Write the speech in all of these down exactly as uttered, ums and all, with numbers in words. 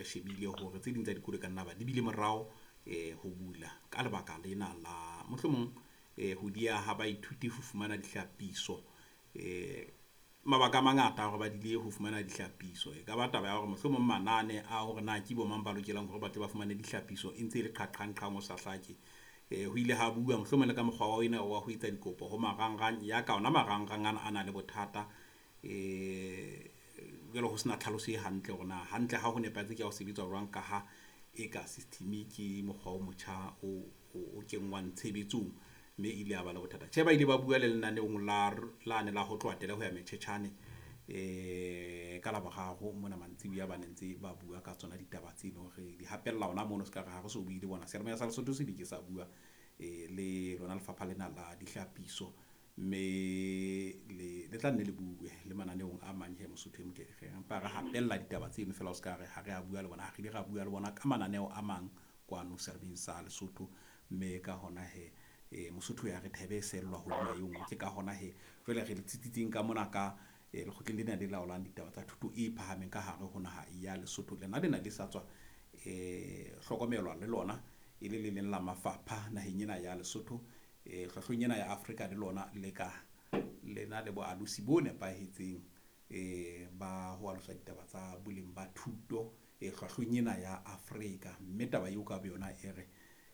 Re shebile hore tse ding tsa dikolo ka nna ba di bile morao eh ho bula ka lebaka lena la mohlomong eh ho dia ha baithuti ho fumana dihlapiso. Eh mabaka a mangata hore ba dile ho fumana dihlapiso. E ka ba taba ya hore mohlomong manane a hore na ke bo mang ba lokelang hore ba tle ba fumane dihlapiso e ntse e le qhaqhang-qhang o sa hlake. Eh ho ile ha bua mohlomong le ka mokgwa wa ena wa ho etsa dikopo ho marangrang ya ka ona marangrang ana a na le bothata. Eh jwale ho sena tlhaloso e hantle hore na hantle ha ho nepahetse ke ya ho sebetsa jwang ka ha e ka system ke mokgwa o motjha o o kenngwang tshebetsong mme ile ya ba le bothata. Tjhe, ba ile ba bua le lenaneong la lane la ho tloha tele ho ya metjhetjhane eh ka Laboraro mona mantsibuya ba ne ntse ba bua ka tsona ditaba tse leng hore di hapella ona mono se ka re ha re so bue le bona. Seyalemoya sa Lesotho se ke sa bua eh le lona lefapha lena la dihlapiso mme le le tla nne le bue le mananeong a mang he Mosotho e motle re empa re hapella ditaba tseno fela o ska re ha re a bua le bona, ha re ile ra bua le bona ka mananeo a mang kwano Seyalemoyeng sa Lesotho mme ka hona he eh Mosotho ya re thebe e sellwa hodima e nngwe. Ke ka hona he jwale re le tsitsitseng ka mona ka eh lekgotleng lena le laolang ditaba tsa thuto e phahameng ka hare ho naha ya Lesotho. Lena lena le sa tswa eh hlokomelwa le lona e le le leng la mafapha naheng ena ya Lesotho. Eh hlwahlweng ena ya Afrika le lona le ka lena le boalosi bo nepahetseng eh ba ho alosa ditaba tsa boleng ba thuto eh hlwahlweng ena ya Afrika. Mme taba eo ka boyona e re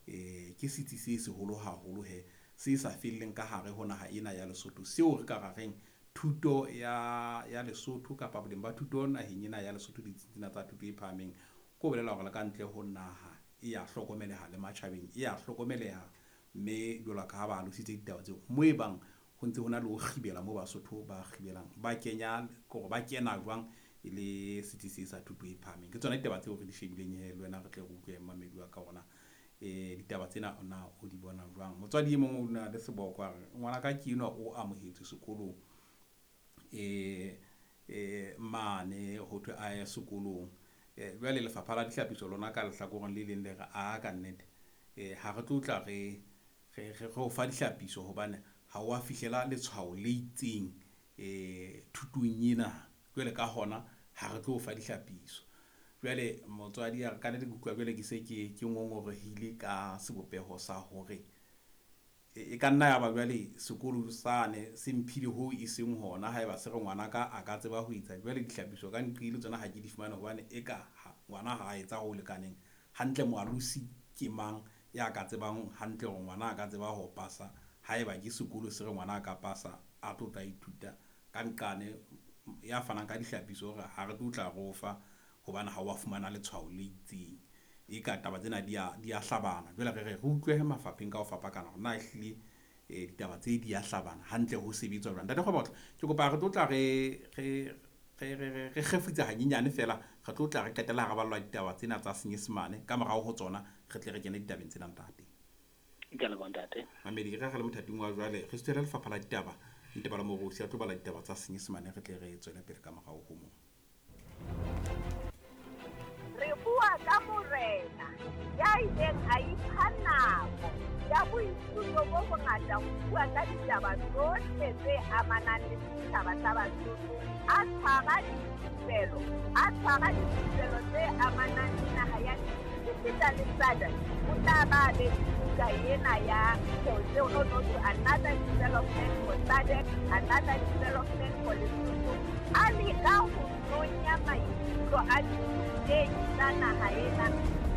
eh ke setsi se seholo haholo he se sa felleng ka hare ho naha ena ya Lesotho seo re ka ra reng thuto ya ya Lesotho kapa boleng ba thuto naheng ena ya Lesotho ditsing tsena tsa thuto e phahameng ko bolela hore le ka ntle ho naha e ya hlokomeleha le matjhabeng e ya hlokomeleha mme jwalo ka ha ba alositse ditaba tseo mo e bang ho ntse ho na le ho kgibela mo Basotho ba kgibelang ba kenya kore ba kena jwang e le setsi se sa thuto e phahameng. Ke tsona ditaba tseo re di shebileng he le wena re tle re utlwe mmamedi wa ka hore na eh ditaba tsena ona o di bona jwang. Motswadi e mong o na le seboko a re ngwana ka ke enwa o amohetswe sekolong eh eh mane ho thwe a ye sekolong. Eh jwale lefapha la dihlapiso lona ka lehlakoreng le leng le re a ka nnete eh ha re tlo tla re re re o fa dihlapiso hobane ha wa fihlela letshwao le itseng eh thutong ena jwale ka hona ha re tlo fa dihlapiso. Jwale motswadi a re ka nnete ke utlwa jwale ke se ke ke ngongorehile ka sebopeho sa hore e ka nna ya ba jwale sekolo sane se mphile ho e seng hona haeba se re ngwana ka a ka tseba ho etsa jwale dihlapiso ka nqile tsona ha ke di fumane hobane e ka ngwana ha a etsa ho lekaneng hantle. Moalosi ke mang ya ka tsebang hantle hore ngwana a ka tseba ho pasa haeba ke sekolo se re ngwana a ka pasa a tlo tla ithuta ka nqane ya fanang ka dihlapiso hore ha re tlo tla re o fa hobane ha wa fumana letshwao le itseng. E ka taba tsena di a di a hlabana jwale re re re utlwe mafapheng ka ho fapakana hore na ehlile eh ditaba tse di a hlabana hantle ho sebetswa jwang. Ntate Kgobotlo ke kopa re tlo tla re re re re re kgefutsa hanyenyane fela re tlo tla re qetella ha re ballwa ditaba tsena tsa Senyesemane ka morao ho tsona re tle re kene ditabeng tsena ntate. Ke a leboha ntate. Mamedi re re le mothating wa jwale re suthela lefapha la ditaba Ntebala Morosi a tlo bala ditaba tsa Senyesemane re tle re tswele pele ka morao ho moo. Re bua ka morena ya ileng a ipha nako ya boithuto bo bongata ho bua ka ditaba tsohle tse amanang le setjhaba sa Basotho. A tshwara dithupelo, a tshwara dithupelo tse amanang le naha ya esita le S A D C. O tla ba be buka ena ya no no to another development for S A D C, another development for Lesotho. A leka ho nonya maikutlo a dithutehi tsa naha ena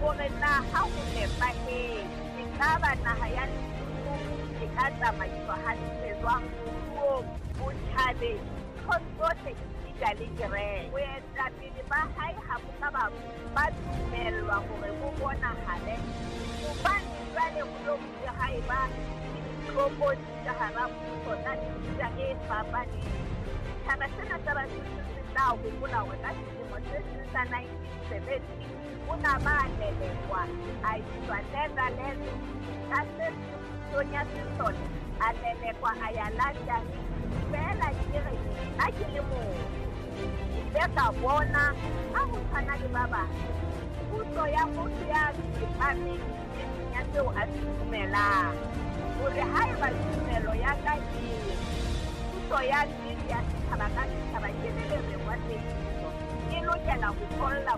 hore na ha ho nepahetse ekaba naha ya Lesotho e ka tsamaiswa hantle jwang moruong, botjhabeng, nthong tsohle esita le kereke. Boetapele ba hae ha bo ka ba ba dumellwa hore bo bonahale hobane jwale ho lo bile ha eba le ditlokotsi ka hara puso tsa mefuta e fapaneng. Setjhaba sena sa Basotho se tla hopola hore ka selemo se seng sa nineteen seventy o na ba lelekwa a iswa Netherlands ka se seng pusong ya sesole a lelekwa a ya London. Feela ke re nna ke le motho ke ile ka bona ha ho tshwana le ba bang puso ya motho ya tsepameng nneteng ya seo a se dumelang hore haeba tumelo ya ka e re puso ya nnete ya setjhaba ka setjhaba ke le lereng wa tsebiso e lokela ho tholla